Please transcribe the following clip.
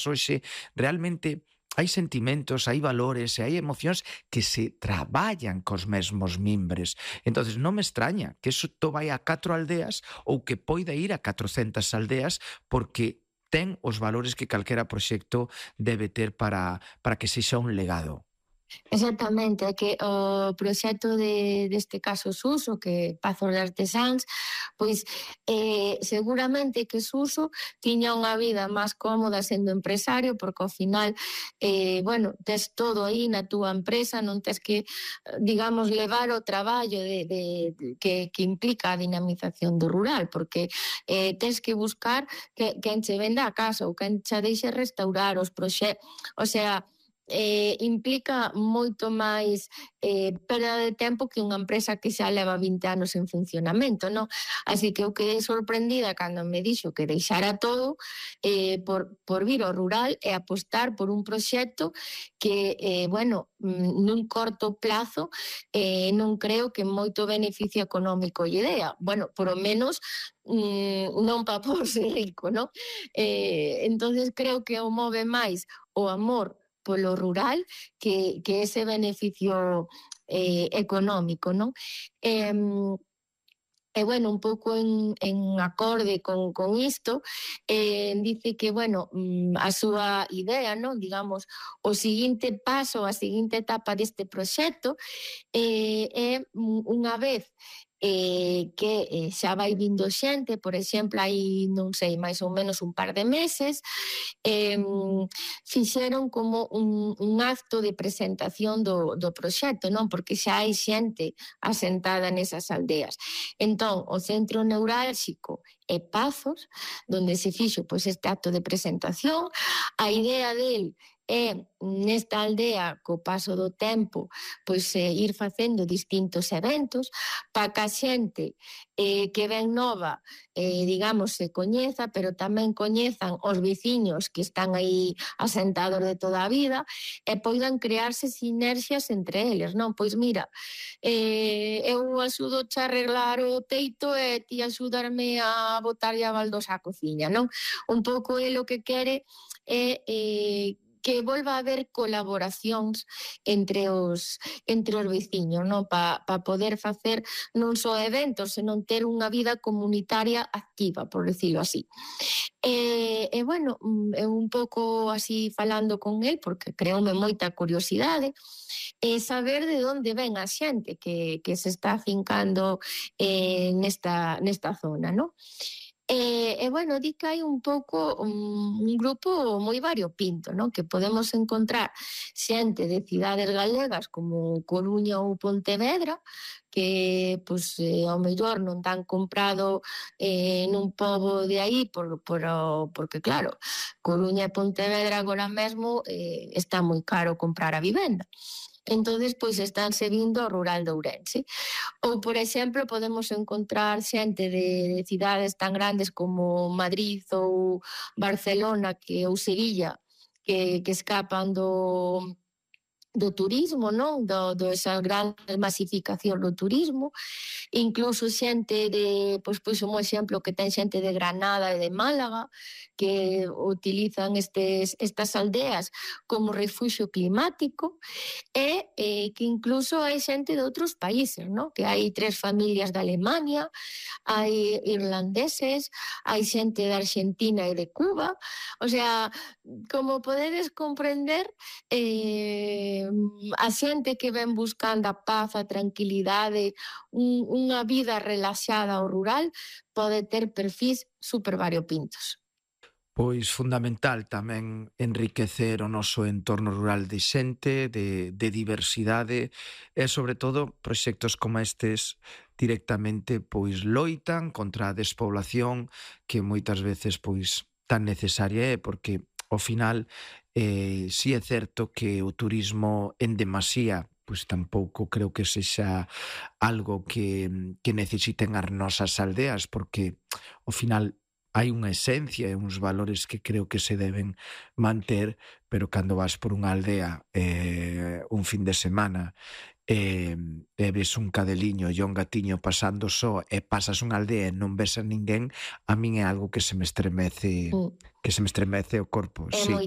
hoxe, realmente hai sentimentos, hai valores e hai emocións que se traballan cos mesmos mimbres. Entonces non me extraña que iso vai a 4 aldeas ou que poida ir a 400 aldeas, porque ten os valores que calquera proxecto debe ter para que sexa un legado. Exactamente, é que o proxecto deste caso Suso, que Pazos de Artesáns, pois seguramente que Suso tiña unha vida máis cómoda sendo empresario, porque ao final, bueno, tes todo aí na túa empresa, non tes que, digamos, levar o traballo que implica a dinamización do rural, porque tes que buscar quen che venda a casa ou quen che deixe restaurar os proxectos, o sea, implica moito máis perda de tempo que unha empresa que xa leva 20 anos en funcionamento, non? Así que eu quedei sorprendida cando me dixo que deixara todo por vir ao rural e apostar por un proxecto que, bueno, nun corto plazo non creo que moito beneficio económico lle dea. Bueno, por o menos non para porse rico, non? Entonces creo que o move máis o amor polo rural que ese beneficio económico, non? E, bueno, un pouco en acorde con isto, dice que, bueno, a súa idea, non? Digamos, o seguinte paso, a seguinte etapa deste proxecto é unha vez que xa vai vindo xente, por exemplo, hai, non sei, máis ou menos un par de meses, fixeron como un acto de presentación do proxecto, non? Porque xa hai xente asentada nesas aldeas. Entón, o centro neurálxico é Pazos, donde se fixo pois este acto de presentación. A idea del é nesta aldea, co paso do tempo, pois ir facendo distintos eventos para que a xente que ven nova, digamos, se coñeza, pero tamén coñezan os veciños que están aí asentados de toda a vida e poidan crearse sinerxias entre eles, non? Pois mira, eu axudo a arreglar o teito e ti axudarme a botarlle a baldosa á cociña, non? Un pouco é o que quere é que volva a haber colaboracións entre os veciños, non? Para poder facer non só eventos, senón ter unha vida comunitaria activa, por decirlo así. E bueno, eu un pouco así falando con el, porque creoume moita curiosidade, saber de onde ven a xente que se está afincando nesta zona, non? E bueno, di que hai un pouco un grupo moi variopinto, non? Que podemos encontrar xente de cidades galegas como Coruña ou Pontevedra, que pois, ao mellor non tan comprado nun pobo de aí porque claro, Coruña e Pontevedra agora mesmo está moi caro comprar a vivenda. Entonces, pois estánse vindo ao rural de Ourense. Ou, por exemplo, podemos encontrar xente de cidades tan grandes como Madrid ou Barcelona ou Sevilla que escapan do turismo, non? Esa gran masificación do turismo. Incluso xente pois un exemplo que ten xente de Granada e de Málaga que utilizan estas aldeas como refuxio climático e que incluso hai xente de outros países, non? Que hai 3 familias de Alemania, hai irlandeses, hai xente de Argentina e de Cuba. O sea, como podedes comprender, a xente que ven buscando a paz, a tranquilidade, unha vida relaxada ao rural, pode ter perfis super variopintos. Pois fundamental tamén enriquecer o noso entorno rural de xente, de diversidade e, sobre todo, proxectos como estes directamente pois loitan contra a despoblación que moitas veces pois tan necesaria é, porque ao final si é certo que o turismo en demasía pois tampouco creo que sexa algo que necesiten as nosas aldeas, porque ao final hai unha esencia e uns valores que creo que se deben manter, pero cando vas por unha aldea un fin de semana e ves un cadeliño e un gatiño pasando só e pasas unha aldea e non ves a ninguén, a min é algo que se me estremece o corpo. É moi